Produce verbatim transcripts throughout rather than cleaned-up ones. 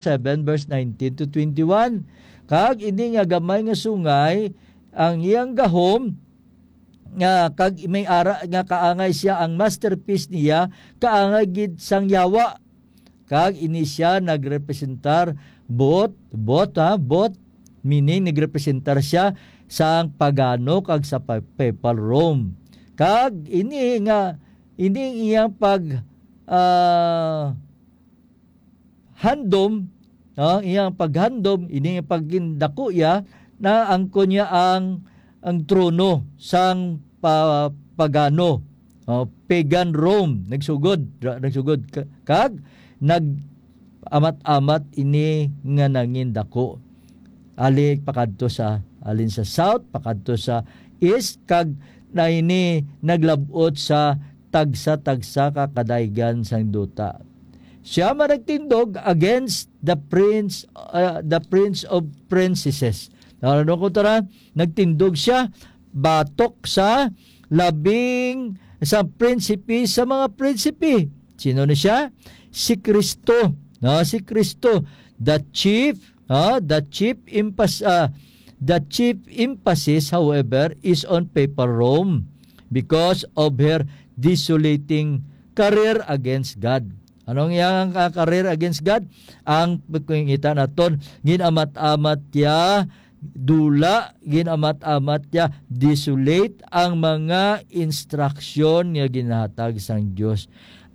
seven, verse nineteen to twenty-one. Kag ini nga gamay nga sungay, ang iyang gahom, nga kag may ara nga kaangay siya, ang masterpiece niya kaangay gid sang yawa. Kag ini siya nagrepresentar both, both, ha, both, meaning nagrepresentar siya sang pagano kag sa pa-, papal Rome. Kag ini nga, ini iyang pag, ah, handom, no, iyang paghandom, ini nga pagindako iya, naangkon niya ang, ang trono sang pa-, pagano, o, pagan Rome, nagsugod, ra-, nagsugod ka-, kag nag-amat-amat ini nga nangindako. Ali pakadto sa, alin sa south, pakadto sa east, kag na ini naglab-ot sa tagsa-tagsa ka kadaygan sang duta. Siya man nagtindog against the prince, uh, the prince of princesses. Ano ko tara? Nagtindog siya batok sa labing sa prinsipe sa mga prinsipe. Sino ni siya? Si Kristo. No, si Kristo, the chief, ah, the chief emphas-, ah, the chief emphasis, however, is on papal Rome because of her desolating career against God. Anong iyang, ah, career against God? Ang pagkita naton, ginamat-amat niya, dula, ginamat-amat niya, desolate ang mga instruction nga ginahatag sang Dios.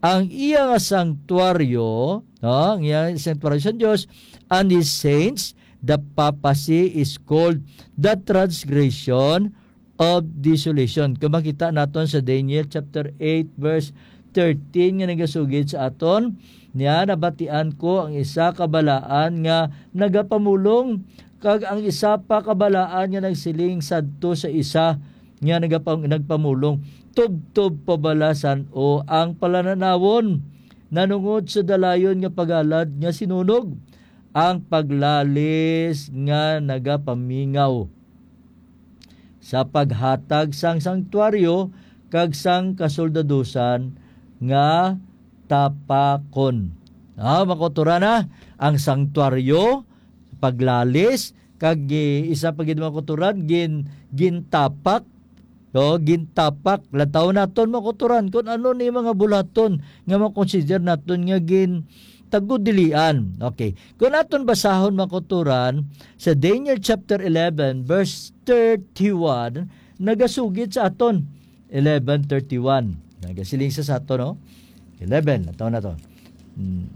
Ang iya nga sanctuaryo, no, ang iya nga sanctuaryo sang Dios, and his saints, the papacy is called the transgression of desolation. Kung makita naton sa Daniel chapter eight, verse thirteen, nga nagasugid sa aton, niya nabatian ko ang isa ka balaan nga nagapamulong, kag ang isa pa ka balaan nga nagsiling sadto sa isa nga nagapam-, nagpamulong, "Tubtob pa bala san-o ang palananawon nanungod sa dalayon nga pagalad nga sinunog, ang paglalis nga nagapamingaw sa paghatag sang sangtuaryo kag sang kasoldadusan nga tapakon." Ah, makuturan na ang sangtuaryo, paglalis, kag gi-, isa pa gid, makuturan, gin-, gintapak. O, gintapak. Lantaw naton, makuturan, kung ano ni mga bulaton nga makonsider naton nga gin-, tagudilian. Okay. Kung aton basahon, makuturan, sa Daniel chapter eleven, verse thirty-one, nagasugid sa aton. Eleven thirty-one. Nagasiling sa sato, no? Eleven, ato na to. Hmm.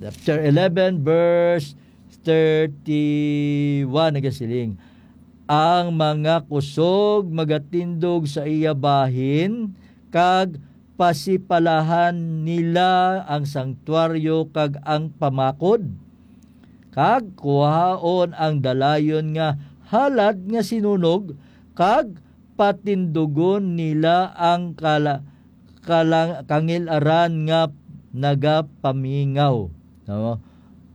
Chapter eleven, verse thirty-one, nagasiling, "Ang mga kusog magatindog sa iya bahin, kag pasipalahan nila ang sangtuaryo kag ang pamakod, kag kuhaon ang dalayon nga halad nga sinunog, kag patindugon nila ang kala-, kalang-, kangil-aran nga nagapamingaw." No?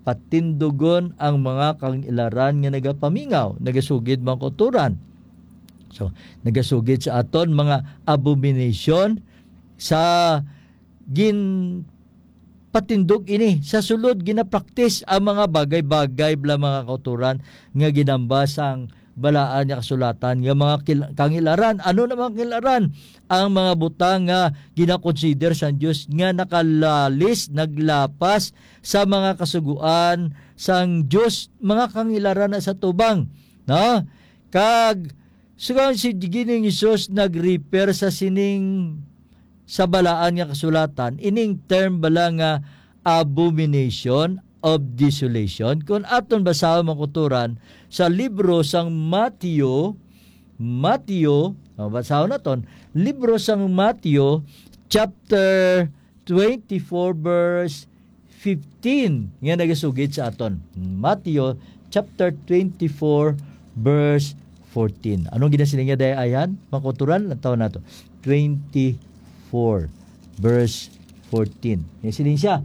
Patindugon ang mga kangil-aran nga nagapamingaw, nagasugid, mga kauturan. So, nagasugid sa aton mga abomination sa ginpatindog ini. Sa sulod, ginapraktis ang mga bagay-bagay bala, mga kauturan, nga ginamba sang balaan nga kasulatan nga mga kil-, kangilaran. Ano na mga kangilaran? Ang mga butang nga ginakonsider sang Dios nga nakalalis, naglapas sa mga kasugoan sang Dios, mga kangilaran na sa tubang, no? Kag sugang si Ginoong Jesus nag-refer sa sining sa balaan nga kasulatan, ining term bala nga abomination of desolation. Kung aton basahon, mga kauturan, sa libro sang Mateo, Mateo, oh, basahon naton, libro sang Mateo, chapter twenty-four, verse fifteen, nga nagasugid sa aton. Mateo chapter twenty-four, verse fourteen. Anong ginasiling niya, day, ayan? Mga kauturan, lantaw nato. Twenty-four, verse fourteen. May siling siya.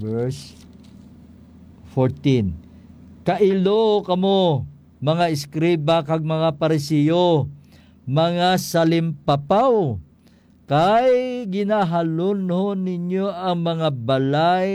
Verse fourteen. "Kailo kamo, mga eskriba kag mga Pariseo, mga salimpapaw! Kay ginahalunhon ninyo ang mga balay